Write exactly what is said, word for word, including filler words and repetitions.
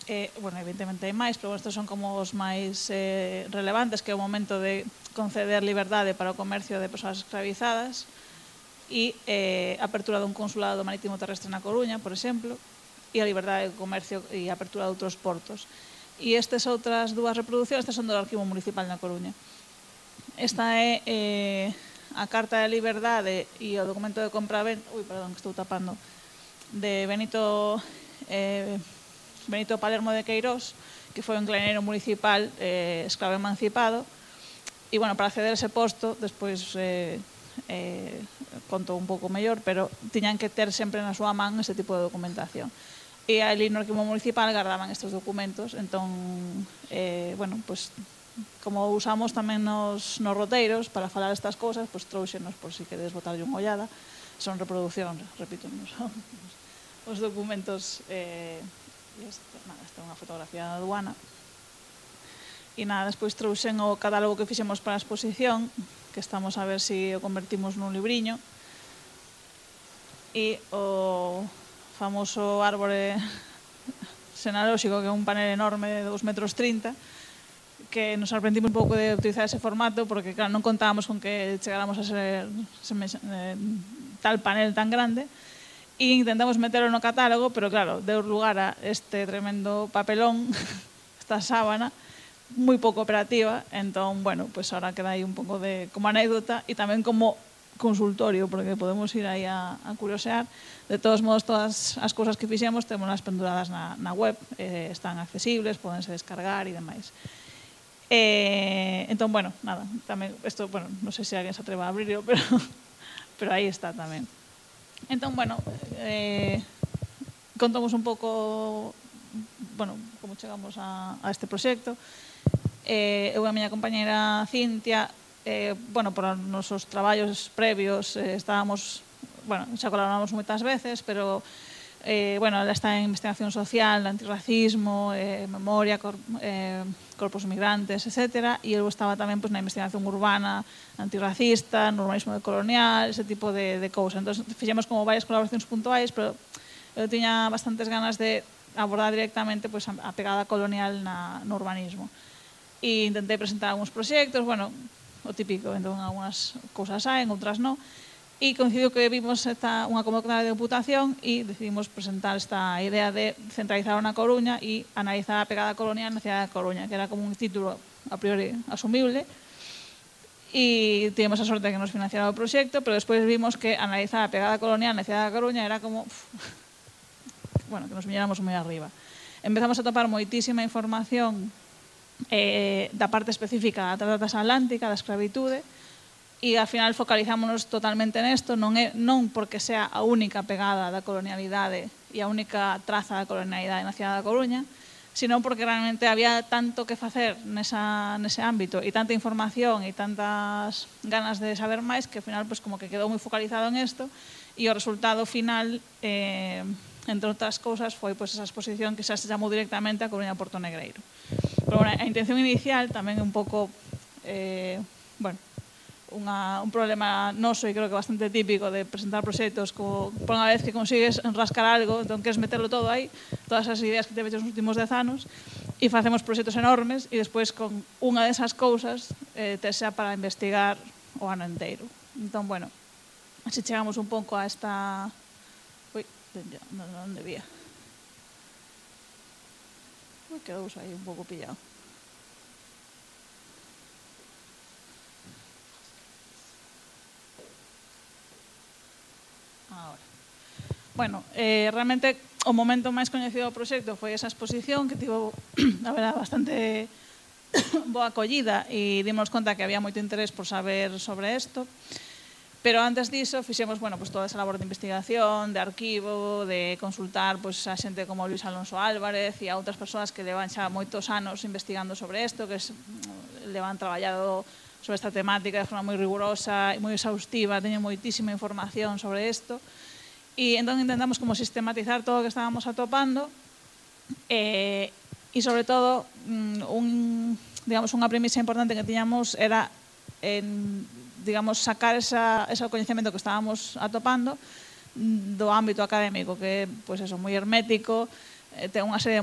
Eh, bueno, evidentemente hai máis, pero estes son como os máis eh, relevantes, que é o momento de conceder liberdade para o comercio de persoas escravizadas e eh, apertura dun consulado marítimo terrestre na Coruña, por exemplo, e a liberdade de comercio e a apertura de outros portos. E estas outras dúas reproduccións, estas son do Arquivo Municipal na Coruña. Esta é eh, a Carta de Liberdade e o documento de compra-venta, ui, perdón, que estou tapando, de Benito eh, Benito Palermo de Queirós, que foi un claneiro municipal eh, escravo emancipado, e, bueno, para acceder a ese posto, despois eh, eh, conto un pouco mellor, pero tiñan que ter sempre na súa man ese tipo de documentación. E ali no Arquivo Municipal guardaban estes documentos, entón, eh, bueno, pues, como usamos tamén nos, nos roteiros para falar estas cosas, pues trouxenos por si queredes botarlle unha ollada. Son reproduccións, repito, non son os documentos. Eh, Este, nada, esta é unha fotografía da aduana. E nada, despois trouxen o catálogo que fixemos para a exposición, que estamos a ver se si o convertimos nun libriño. E o famoso árbore xenalóxico, que é un panel enorme de dous metros trinta, que nos sorprendimos un pouco de utilizar ese formato, porque, claro, non contábamos con que chegáramos a ser eh, tal panel tan grande. E intentamos meterlo no catálogo, pero claro, deu lugar a este tremendo papelón, esta sábana, moi pouco operativa, entón, bueno, pues ahora queda aí un pouco de como anécdota e tamén como consultorio, porque podemos ir aí a, a curiosear. De todos modos, todas as cousas que fixemos temos as penduradas na, na web, eh, están accesibles, podense descargar e demais. Eh, entón, bueno, nada, tamén, isto, bueno, non sei se alguén se atreva a abrirlo, pero, pero aí está tamén. Entón, bueno, eh, contamos un pouco, bueno, como chegamos a, a este proxecto. Eh, eu e a miña compañera Cintia, eh, bueno, por os nosos traballos previos, eh, estábamos, bueno, xa colaboramos moitas veces, pero, eh, bueno, ela está en investigación social, antirracismo, eh, memoria, cor, eh, corpos migrantes, etcétera, e eu estaba tamén pues, na investigación urbana antirracista, no urbanismo decolonial, ese tipo de, de cousas. Entón, fixemos como varias colaboracións puntuais, pero eu tiña bastantes ganas de abordar directamente pues, a pegada colonial na, no urbanismo. E intentei presentar algúns proxectos, bueno, o típico, entón, algunhas cousas saen, outras non. E coincidiu que vimos esta, unha convocatoria de deputación e decidimos presentar esta idea de centralizar na Coruña e analizar a pegada colonial na cidade da Coruña, que era como un título a priori asumible. E tivemos a sorte de que nos financiara o proxecto, pero despois vimos que analizar a pegada colonial na cidade da Coruña era como, uf, bueno, que nos viñéramos moi arriba. Empezamos a topar moitísima información eh, da parte específica da trata transatlántica, da escravitude, e ao final focalizámonos totalmente nesto, non é non porque sea a única pegada da colonialidade e a única traza da colonialidade na cidade da Coruña, sino porque realmente había tanto que facer nesa, nese ámbito e tanta información e tantas ganas de saber máis que ao final pues, como que quedou moi focalizado en isto e o resultado final, eh, entre outras cousas, foi pues, esa exposición que xa se chamou directamente a Coruña Porto Negreiro. Pero bueno, a intención inicial tamén é un pouco, eh, bueno, Unha, un problema noso e creo que bastante típico de presentar proxectos como por unha vez que consigues rascar algo, entón queres meterlo todo aí, todas as ideas que te veches nos últimos dez anos e facemos proxectos enormes e despois con unha desas cousas eh, te xa para investigar o ano inteiro. Entón, bueno, así chegamos un pouco a esta... Ui, onde vía? Ui, quedou aí un pouco pillado. Ahora. Bueno, eh, realmente o momento máis coñecido do proxecto foi esa exposición que tivo, a verdade, bastante boa acollida e dimos conta que había moito interés por saber sobre isto. Pero antes diso, fixemos, bueno, pues, toda esa labor de investigación, de arquivo, de consultar pues, a xente como Luis Alonso Álvarez e a outras persoas que levan xa moitos anos investigando sobre isto, que es, levan traballado sobre esta temática de forma moi rigurosa e moi exhaustiva, teñen moitísima información sobre isto. E entón intentamos como sistematizar todo o que estábamos atopando e, e sobre todo, un, digamos, unha premisa importante que tiñamos era en, digamos, sacar esa, ese coñecemento que estábamos atopando do ámbito académico, que é, pois eso, moi hermético, ten unha serie de